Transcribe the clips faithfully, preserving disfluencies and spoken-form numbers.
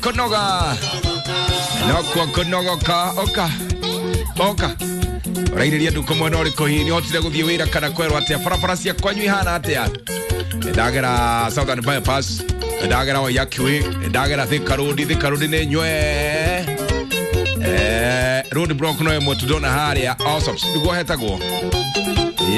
Kunoga Nokuo kunogoka oka oka ũrairĩria nduko mwena ũrĩkũ hihi nĩhotire gũthiĩ wĩra kana kwerwo atĩa barabara cia kwanyu ihana atĩa ndagera Southern Bypass, ndagera Waiyaki Way, ndagera Thika Road. Thika Road nĩ nywe eh, road block no ĩmwe tu ndona harĩa Allsops nĩguo hetagwo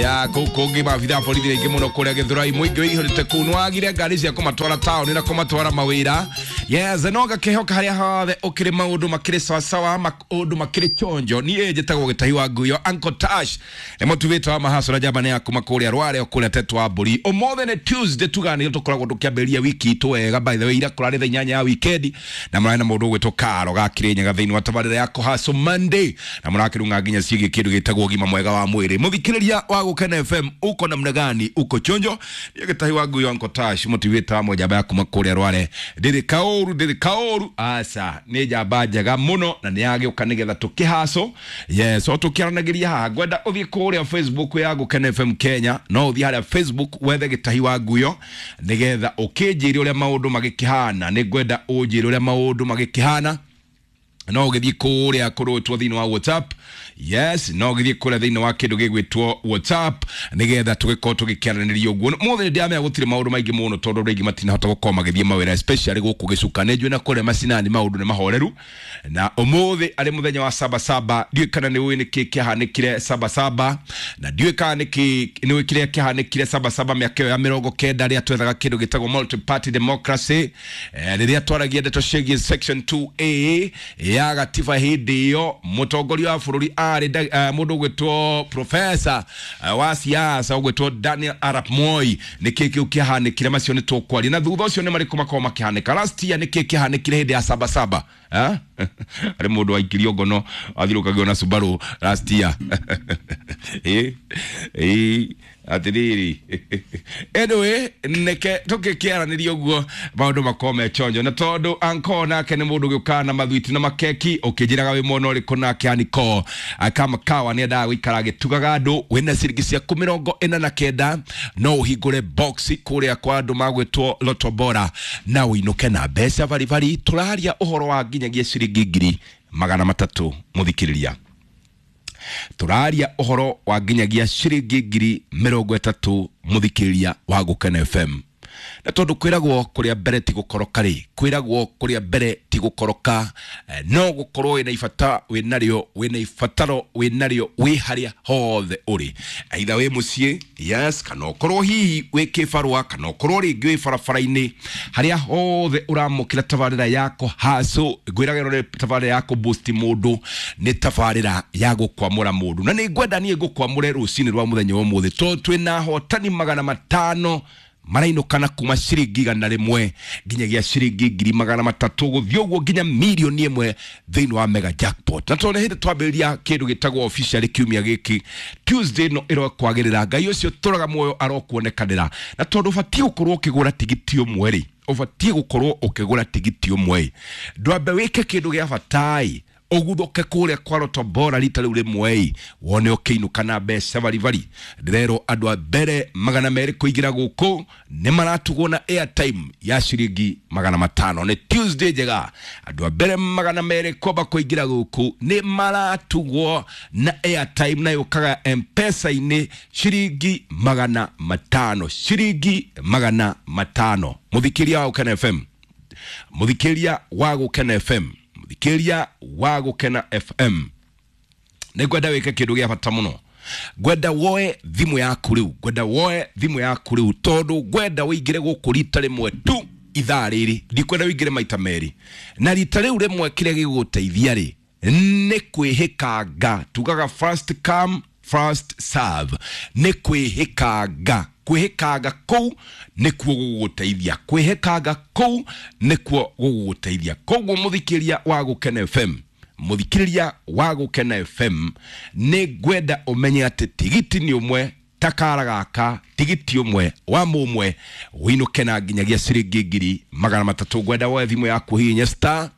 ya kũu kũngĩ maabitha a borithi aingĩ mũno kũrĩa Gĩthũrai mũingĩ wĩihũrĩte kũu nĩwagire ngari cia kũmatwara taũni na kũmatwara mawĩra. Yes, no ngakĩhoka harĩa hothe ũkĩrĩ maũndũ makĩrĩ sawasawa, maũndũ makĩrĩ chonjo. Niĩ njĩtagwo Gĩtahi wa Nguyo, Uncle Tash nĩ mũtuvĩte wa mahaco na njamba nĩ ya kuma kũrĩa Rware kũrĩa Tetwa wa Mbũri. Ũmũthĩ nĩ Tuesday, tuganĩrio tũkoragwo tũkĩambĩrĩria wiki itũ wega. By the way, ira kũrarĩ thaa inyanya ya wikendi na mũrarĩ na mũndũ ũgwĩtwo Karo ga Kĩrĩnyaga thĩinĩ wa tabarĩra ya Kũhaco Monday na mũrakĩrung'a nginya ciĩgiĩ kĩndũ gĩtagwo ũgima mwega wa mwĩrĩ. Mũthikĩrĩria wa Gũkena F M, uko namna gani? Uko chonjo? Niĩ Gĩtahi wa Nguyo, Uncle Tash mũtuvĩte wa njamba ya kuma kũrĩa Rware. Ndĩrĩ kaũru, ndĩrĩ kaũru, aca nĩ njamba njega mũno na nĩ yagĩũka nĩgetha tũkĩhaco. Yes, o tũkĩaranagĩria haha ngwenda ũthiĩ kũrĩa Facebook ya Gũkena F M Kenya, no ũthiĩ harĩa Facebook wethe Gĩtahi wa Nguyo nĩgetha ũkĩnjĩre ũrĩa maũndũ magĩkĩhana. Nĩ ngwenda ũnjĩre ũrĩa maũndũ magĩkĩhana. No ũgĩthiĩ kũrĩa kũrũtwo thĩinĩ wa WhatsApp. Yes, no ũgĩthiĩ kũrĩa thĩinĩ wa kĩndũ gĩgwĩtwo WhatsApp nĩgetha tũgĩkorwo tũgĩkĩaranĩria ũguo. Mũthĩ nĩndĩramenya gũtirĩ maũndũ maingĩ mũno tondũ andũ aingĩ matinahota gũkorwo magĩthiĩ mawĩra, especially gũkũ gĩcuka. Nĩ njũĩ na kũrĩa macinani maũndũ nĩ mahoreru, na ũmũthĩ arĩ mũthenya wa sabasaba. Ndiũĩ kana nĩ ũĩ nĩkĩ kĩahanĩkire sabasaba, na ndiũĩ kana nĩkĩ nĩ ũĩ kĩrĩa kĩahanĩkire sabasaba mĩaka ĩyo ya mĩrongo kenda rĩrĩa twethaga kĩndũ gĩtagwo multi-party democracy, eh, rĩrĩa twaragia ndeto ciĩgiĩ section two A ya gatiba. Hĩndĩ ĩyo mũtongoria wa bũrũri arĩ uh, mũndũ ũgwĩtwo professor uh, wa siasa ũgwĩtwo Daniel Arap Moi. Nĩkĩ kĩu kĩahanĩkire? Macio nĩ tũkwaria na thutha ũcio nĩ marĩkũ makorwo makĩhanĩka last year. Nĩkĩ kĩahanĩkire hĩndĩ ya sabasaba? Arĩ mũndũ waikirio ngono athirũkagio na Subaru last year. Ĩ ĩ atĩrĩrĩ, anyway, neke tũkĩkĩaranĩria ũguo maũndũ makorwo me chonjo, na tondũ anko nake nĩ mũndũ ũgĩũkaga na mathwiti na makeki ũkĩnjĩraga wĩ mwena ũrĩkũ nake aniko kama kawa nĩendaga gũikara agĩtugaga andũ. Wĩna ciringi ciaku mĩrongo ĩna na kenda no ũhingũre box kũrĩa kwa andũ magwĩtwo Lotto Bora na ũinũke na mbeca baribari. Tũraria ũhoro wa nginyagia ciringi ngiri magana matatũ mũthikĩrĩria, tũraria ũhoro wa nginyagia ciringi ngiri mĩrongo ĩtatũ mũthikĩrĩria wa Gũkena F M. Na tondũ kwĩragwo kũrĩa mbere ti gũkoroka rĩ, kwĩragwo kũrĩa mbere ti gũkoroka, eh, no gũkorwo wĩna ibata wĩnarĩo, wĩna ibataro wĩnarĩo wĩ harĩa hothe ũrĩ, aitha wĩ mũciĩ, yes, kana ũkorwo hihi wĩ kĩbarũa, kana ũkorwo rĩngĩ wĩ barabara-inĩ, harĩa hothe ũramũkĩra tabarĩra ya Kũhaco. Ngwĩraga ĩno nĩ tabarĩra ya kũboost mũndũ, nĩ tabarĩra ya gũkwamũra mũndũ, na nĩ ngwenda niĩ ngũkwamũre rũcinĩ rwa mũthenya wa ũmũthĩ tondũ twĩna ahotani magana matano marainũkana kuma ciringi igana rĩmwe nginyagia ciringi ngiri magana matatũ gũthiĩ ũguo nginya mirioni ĩmwe thĩinĩ wa mega jackpot. Na tondũ nĩ hĩndĩ twambĩrĩria kĩndũ gĩtagwo officially kiumia gĩkĩ Tuesday no ĩrokwagĩrĩra, Ngai ũcio tũraga muoyo arokuonekanĩra. Na tondũ ũbatiĩ gũkorwo ũkĩgũra tigiti ũmwe rĩ, ũbatiĩ gũkorwo ũkĩgũra tigiti ũmwe, ndwambe wĩke kĩndũ gĩa batai ũguthũke kũrĩa kwa Lotto Bora rita rĩu rĩmwe wone ũkĩinũka na mbeca baribari. Ndĩrerwo andũ a mbere magana merĩ kũingĩra gũkũ nĩ maratugwo na airtime ya ciringi magana matano. Nĩ Tuesday njega, andũ a mbere magana merĩ kwamba kũingĩra gũkũ nĩ maratugwo na airtime na yũkaga M-Pesa-inĩ ciringi magana matano, ciringi magana matano. Mũthikĩria wa Gũkena F M, mũthikĩria wa Gũkena F M, mũthikĩria wa Gũkena F M, nĩ ngwenda wĩke kĩndũ gĩa bata mũno. Ngwenda woe thimũ yaku rĩu, ngwenda woe thimũ yaku rĩu tondũ ngwenda ũingĩre gũkũ rita rĩmwe tu ithaa rĩrĩ, ndikwenda ũingĩre maita merĩ. Na rita rĩu rĩmwe kĩrĩa gĩgũgũteithia rĩ nĩ kwĩhĩkanga, tugaga first come first serve, nĩ kwĩhĩkanga. Kwĩhĩkanga kũu nĩkuo gũgũteithia, kwĩhĩkanga kũu nĩkuo gũgũteithia. Koguo mũthikĩria wa Gũkena F M, mũthikĩrĩria wa Gũkena F M, nĩ ngwenda ũmenye atĩ tigiti nĩ ũmwe takara gaka, tigiti ũmwe wa mũmwe ũinũke na nginyagia ciringi ngiri magana matatũ. Ngwenda woe thimũ yaku hihinya star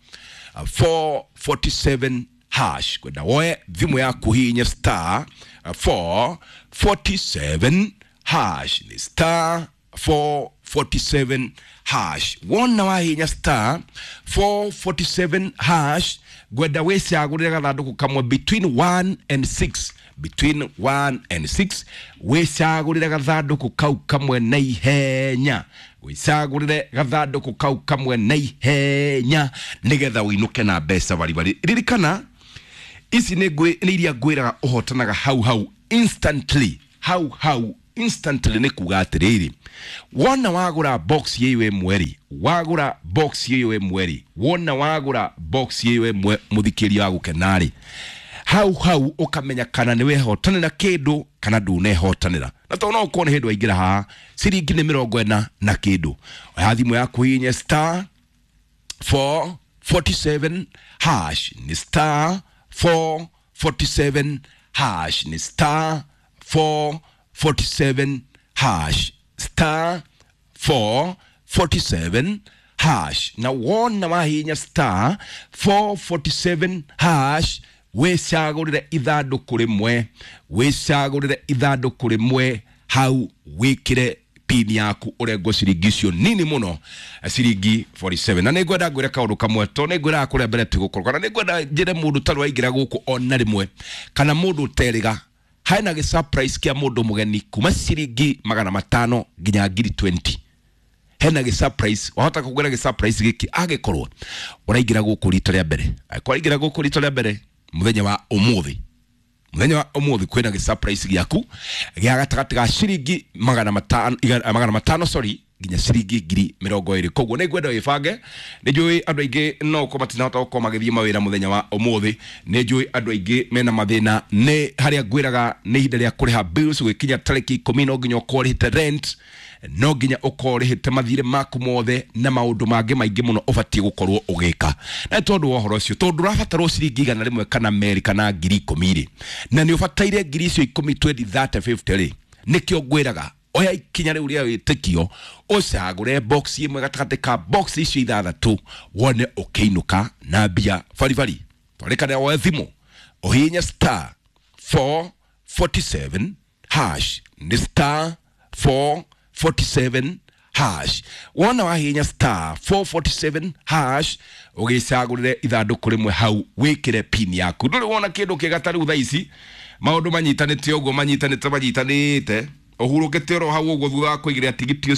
four forty-seven hash, ngwenda woe thimũ yaku hihinya star four forty-seven hash, ni star four forty-seven hash. Wona wahinya star four forty-seven hash, ngwenda wicagurire gathanduku kamwe between one and six, between one and six, wicagurire gathanduku kau kamwe na ihenya, wicagurire gathanduku kau kamwe na ihenya nigetha winuke na mbeca baribari. Ririkana ici nĩ ngwĩ- nĩ iria ngwĩraga ũhotanaga hau hau instantly, hau hau instantly. Nĩ kuga atĩrĩrĩ, wona wagũra box ĩyo ĩmwe rĩ, wagũra box ĩyo ĩmwe rĩ, wona wagũra box ĩyo ĩmwe, mũthikĩria wa gũkena rĩ, hau hau ũkamenya kana nĩ wehotanĩra kĩndũ kana ndũnehotanĩra. Na tondũ no ũkorwo nĩ hĩndĩ waingĩra haha, ciringi nĩ mĩrongo ĩna na kĩndũ, oya thimũ yaku hihinye star four forty-seven hash, ni star four forty-seven hash, ni star four forty-seven hash, star four forty-seven hash. Na wona wahinya star four forty-seven hash, wicagũrĩre ithandũkũ rĩmwe, wicagũrĩre ithandũkũ rĩmwe hau, wĩkĩre pin yaku ũrengwo ciringi icio nini mũno, ciringi forty-seven. Na nĩngwenda ngwĩre kaũndũ kamwe, to nĩngwĩraga kũrĩa mbere tigũkorwo, kana nĩngwenda njĩre mũndũ tarĩ waingĩra gũkũ ona rĩmwe kana mũndũ ũterĩga, hena gĩ surprise kĩa mũndũ mũgeni kuma ciringi magana matano nginya ngiri twenty. Hena gĩ surprise, wahota kũgwĩra gĩ surprise gĩkĩ angĩkorwo ũraingĩra gũkũ rita rĩa mbere, angĩkorwo ũraingĩra gũkũ rita rĩa mbere mũthenya wa ũmũthĩ, mũthenya wa ũmũthĩ kwĩna gĩ surprise gĩaku gĩa gatagatĩ ga ciringi magana matano, igana- magana matano sorry, nginya ciringi ngiri mĩrongo ĩrĩ. Koguo nĩ ngwenda wĩbange. Nĩ njũĩ andũ aingĩ no ũkorwo matinahota gũkorwo magĩthiĩ mawĩra mũthenya wa ũmũthĩ, nĩ njũĩ andũ aingĩ mena mathĩna, nĩ harĩa ngwĩraga nĩ ihinda rĩa kũrĩha bills gwĩkinya tarĩki ikũmi, no nginya ũkorwo ũrĩhĩte rent, no nginya ũkorwo ũrĩhĩte mathirĩ maku mothe na maũndũ mangĩ maingĩ mũno ũbatiĩ gũkorwo ũgĩka. Na nĩ tondũ wa ũhoro ũcio, tondũ ũrabatarwo ciringi igana rĩmwe kana merĩ kana ngiri ikũmi rĩ, na nĩ ũbataire ngiri icio ikũmi, twenty, thirty, fifty rĩ, nĩkĩo ngwĩraga oya ikinya rĩu rĩa wĩtĩkio, ũcagũre box ĩmwe gatagatĩ ka box icio ithathatũ, wone ũkĩinũka na mbia baribari. Twarĩkane woe thimũ ũhihinye star four forty-seven hash, nĩ star four forty-seven hash. Wona wahihinya star four forty-seven hash, ũgĩcagũrĩre ithandũkũ rĩmwe hau, wĩkĩre pin yaku. Ndũrĩ wona kĩndũ kĩega ta rĩu thaa ici maũndũ manyitanĩte ũguo, manyitanĩte manyitanĩte, ũhurũkĩte oro hau ũguo thutha wa kũigĩrĩra tigiti ũcio.